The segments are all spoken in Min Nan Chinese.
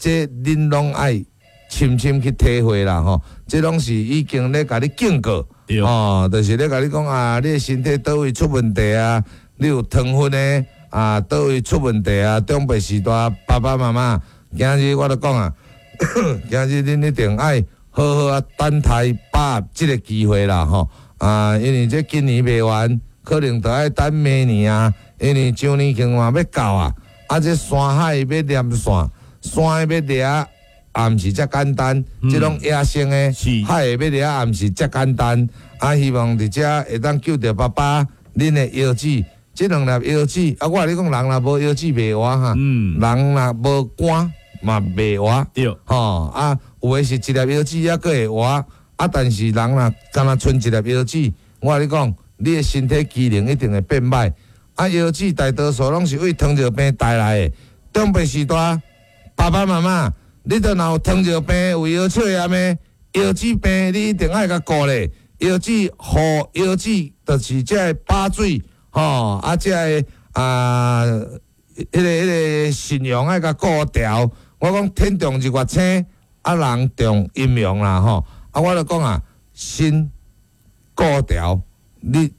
這恁攏愛深深去體會啦吼，這攏是已經咧共你警告，吼，就是咧共你講啊，你的身體佗位出問題啊，你有糖分的啊，佗位出問題啊，長輩時代爸爸媽媽，今日我就講啊，今日恁一定愛好好啊等待把握這個機會啦吼，啊，因為這今年賣完，可能就愛等明年啊，因為周年慶嘛欲到啊，啊，這山海欲連線，山欲掠。也毋是遮簡單，這攏野生的，海的欲掠也毋是遮簡單。啊，希望佇遮會當救著爸爸恁的腰子，這兩粒腰子啊，我共你講，人若無腰子袂活哈，人若無肝嘛袂活，吼啊，有的是一粒腰子猶閣會活，啊，但是人若干焦賰一粒腰子，我共你講，你的身體機能一定會變歹。啊，腰子大多數攏是為糖尿病帶來的。長輩時代，爸爸媽媽，你著若有糖尿病、有腰笑炎的腰子病，你一定愛共顧咧。腰子護腰子，就是這个把水吼，啊，這个啊，彼个腎陽愛共顧調。我講天動日月星，啊人動陰陽啦吼。啊，我就講啊，腎顧調，你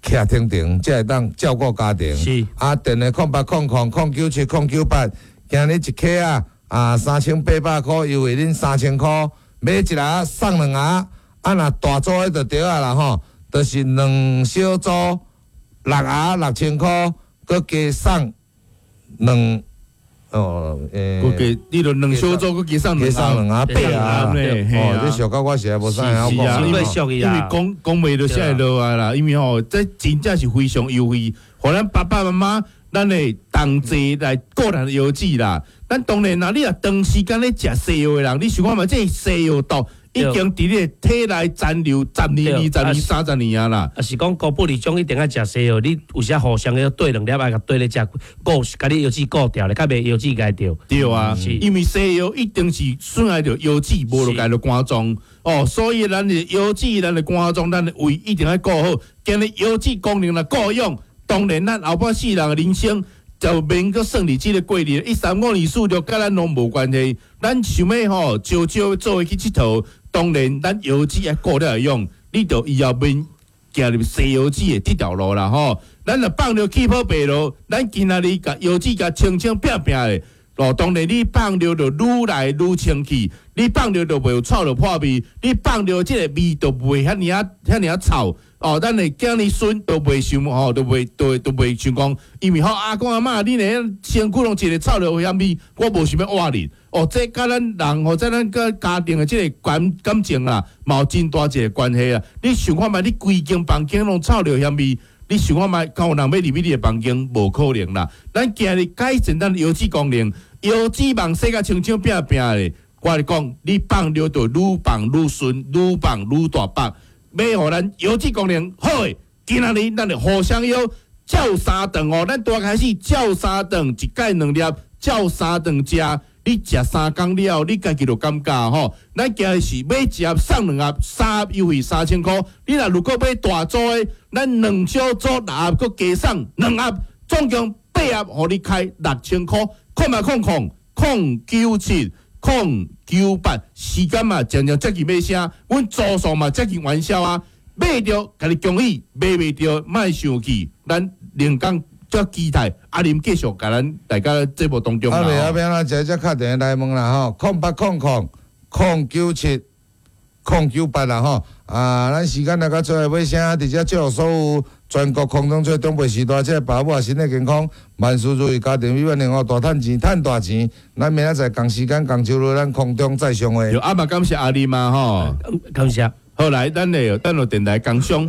徛停停，才會當照顧家庭。啊，電話0800-097-098，今日一克啊！啊，3800箍，優惠恁3000箍，買一盒送兩盒。啊，若大組的就對啊啦吼，就是兩小組六盒6000箍，閣加送兩哦，欸，閣加你著兩小組，閣加送加送兩盒八盒哦，這俗甲我實在無啥會曉講。因為講講袂就寫落來啦，因為吼，這真正是非常優惠，予咱爸爸媽媽。咱會同齊來顧咱的腰子啦。咱當然啦，你若長時間咧食西藥的人，你想看覓，這西藥毒已經佇你的體內殘留十年、二十年、30年啊啦。啊是講高布里種一定愛食西藥，你有時互相要對兩粒愛共對咧食，顧共你腰子顧掉咧，較袂腰子刣著。對啊，因為西藥一定是損害著腰子，無就刣著肝臟。哦，所以咱的腰子、咱的肝臟、咱的胃一定愛顧好。今日腰子功能若顧用，當然，咱後半世人的人生就免閣算佇這个過日，一三五二四六，佮咱攏無關係。咱想欲吼，少少做伙去𨑨迌，當然咱腰子愛顧了會用，你就以後免行入西腰子的這條路啦吼。咱若放著氣泡白落，咱今仔日共腰子共清清拚拚的，哦，當然你放尿就愈來愈清氣，你放尿就袂有臭著破味，你放尿這个味就袂遐爾仔遐爾仔臭。哦，咱的囝兒孫都袂想吼，都袂都都袂想講，因為吼阿公阿嬤，恁的身軀攏一個臭著香味，我無想欲活恁。哦，這佮咱人或者咱佮家庭的這个感情啊，嘛有真大一个關係啊。你想看覓，你規間房間攏臭著香味，你想看覓，敢有人欲入去你的房間？無可能啦。咱今日改善咱腰子功能，腰子網洗甲清清拚拚的，我共你講，你放尿就愈放愈順，愈放愈大腹。欲予咱腰子功能好的，今仔日咱就互相約照三頓哦。咱拄開始照三頓，一擺兩粒，照三頓食。你食3工了後，你家己就感覺吼。咱今日是買一盒送兩盒，三盒優惠3000箍。你若如果買大組的，咱兩小組六盒，閣加送兩盒，總共八盒，予你開6000箍。0800-097-098，時間嘛漸漸接近尾聲，阮組數嘛接近完銷啊！買著共你恭喜，買袂著莫生氣，咱靈感遮期待阿林繼續共咱大家節目當中。啊，袂啊，欲按怎，直接敲電話來問啦吼，0800-097-098啦吼。啊，咱時間來到最後尾聲，佇遮祝福所有全國空中做長輩時代，這个爸母啊身體健康，萬事如意，家庭美滿幸福，大趁錢，趁大錢。咱明仔載仝時間仝周日，咱空中再相會。阿嘛感謝阿林嘛吼，感謝。好來，咱的等落電台工商。